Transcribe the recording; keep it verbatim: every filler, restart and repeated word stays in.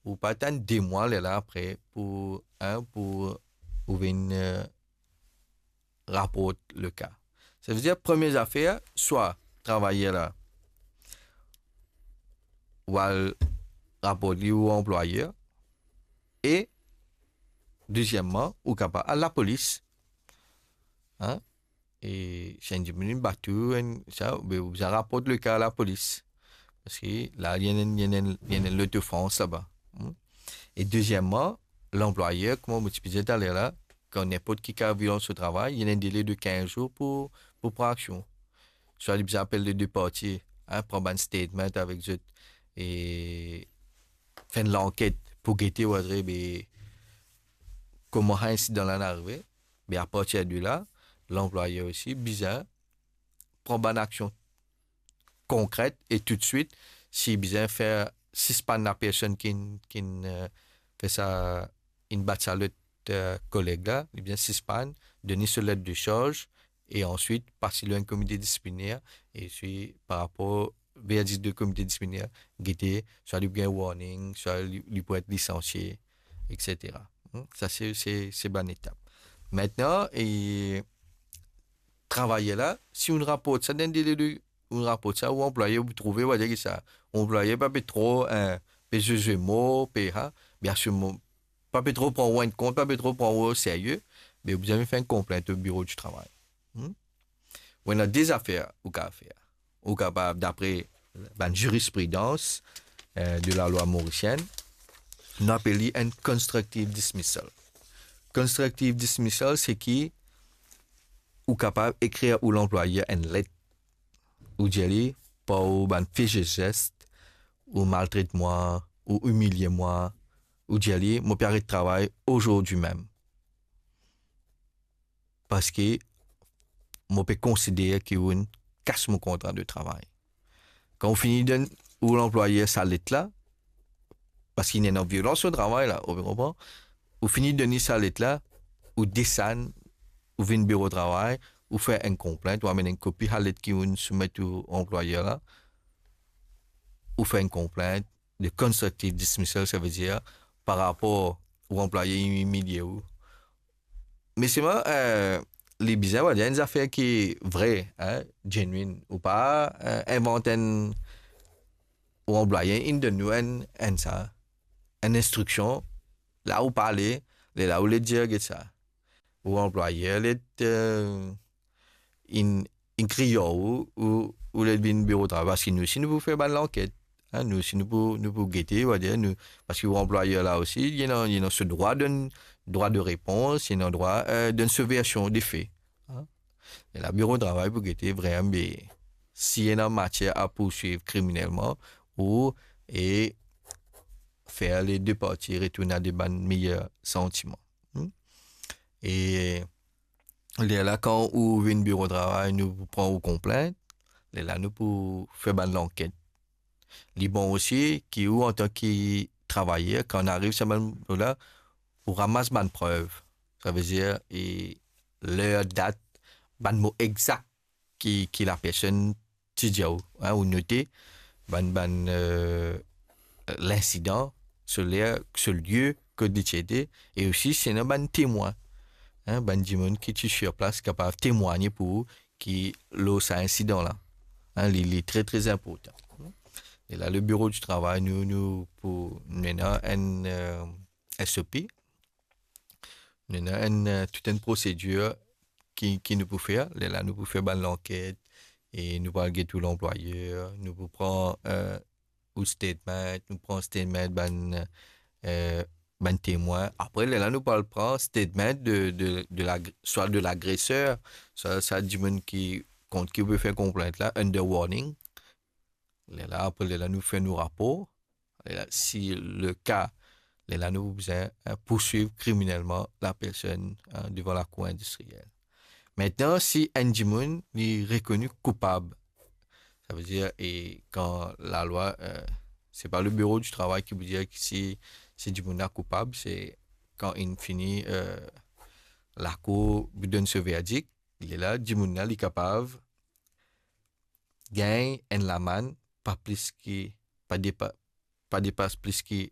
ou pa atann de mwa, lerla apre pou, hein, pou ou vinn, euh, raport le ka. Savedir, premie zafer, swa travayer la, ou al raport li ou anplwayer, e dezieman, ou kapav al lapolis. Hein? E si enn dimoun inn bat ou, enn sa, be ou bizin raport le ka lapolis. Parski la, li ena, li ena, li ena lot ofans laba. Hmm? E dezieman, lanplwayer, kouma mo ti pe dir taler la, kan ninport ki ka violans o travay, li ena enn dele de kinz zour pou, pou pran aksion. Swa li bizin apel le de parti, hein, pran bann statement avek zot, e fer enn lanket pou gete, ou adre, be, kouma sa insidan la inn arive, be, apartir de la, lanplwayer osi bizin pran bann aksion konkret e toutswit, si bizin fer sispann lapersonn ki, ki, euh, fer sa, inn bat sa lot, euh, koleg la, li bizin sispann, donn li so let de sarz, e answit pas li lor enn komite disipliner, e si par rapor verdik de komite disipliner, gete, swa li pou gagn warning, swa li, li pou et lisansie, et cetera. Hmm? Sa se, se, se bann etap. Aster, e travayer la, si ou raport sa dan dele de, ou raport sa, ou anplwayer, ou trouve, ou va dir ki sa, ou anplwayer pa pe tro, hein, pe zwe zwe mo, pe, ha, bien sir, mo, pa pe tro pran ou enn kont, pa pe tro pran ou o serye, be ou bizin fer enn konplint o biro di travay. Hmm? Ou ena de zafer ou kapav fer. Ou kapav, dapre bann zirispridans, euh, de lalwa morisienn, nou apel li enn constructive dismissal. Constructive dismissal, se ki ou kapav ekrir ou lanplwayer enn let, ou dir li, par ou bann fe zes, ou maltret mwa, ou imilie mwa, ou dir li, mo pe aret travay azordi mem. Parski mo pe konsider ki ou inn kas mo kontra de travay. Kan ou fini donn ou lanplwayer sa let la, parski li ena violans o travay la, ou konpran? Ou fini donn li sa let la, ou desann, ou vinn biro travay, ou fer enn konplint, ou amenn enn kopi sa let ki ou inn soumet ou anplwayer la, ou fer enn konplint de constructive dismissal, savedir par rapor ou anplwayer imilie ou. Me selman, euh, li bizin, on va dir, enn zafer ki vre, hein, genuine, ou pa, euh, invant enn, ou anplwayer inn donn ou enn, enn sa, enn instriksion, la ou pale, lerla ou le dir, get sa. Ou anplwayer le, euh, inn, inn kriy ou, ou, ou le vinn biro travay, parski nou osi nou pou fer bann lanket. Hein, nou osi nou pou, nou pou gete, on va dir, nou, parski ou anplwayer la osi, li ena, li ena so drwa donn, drwa de repons, li ena drwa, euh, donn so version de fe. Hein? E la biro travay pou gete vreman, be, si ena matier a pourswiv kriminelman, ou, e fer le de parti retourn a de bann meyer santiman. Hmm? E lerla, kan ou vinn biro travay, nou pou pran ou konplint, lerla nou pou fer bann lanket. Li bon osi ki ou, antan ki travayer, kan ariv sa bann mo la, ou ramas bann prev. Savedir, e ler, dat, bann mo exak ki, ki lapersonn ti dir ou, hein, ou note bann, bann, euh, linsidan, so ler, so lie kot li ti ete, e osi si ena bann temwin, hein, bann dimoun ki ti sir plas kapav temwagne pou ou ki lor sa insidan la. Hein, li, li tre, tre inportan. E la, le biro di travay, nou, nou pou, nou ena enn, euh, S O P, nou ena enn, euh, tou enn prosedir ki, ki nou pou fer. Lerla nou pou fer bann lanket e nou pou al get ou lanplwayer, nou pou pran, euh, ou statement, nou pran statement bann, euh, bann temwin. Apre, lerla nou pou al pran statement de, de, de la, swa de lagreser, swa sa dimoun ki, kont ki ou pe fer konplint la, under warning. Lerla, apre, lerla nou fer nou rapor. Lerla, si le ka, lerla nou pou bizin, hein, pourswiv kriminelman lapersonn, hein, devan lakour indistriel. Aster, si enn dimoun li rekoni koupab, savedir, e kan lalwa, euh, se pa le biro di travay ki pou dir ki si, si dimoun la koupab, se kan inn fini, euh, lakour pou donn so verdik, lerla dimoun la li kapav gagn enn lamann pa plis ki, pa depa-, pa depas plis ki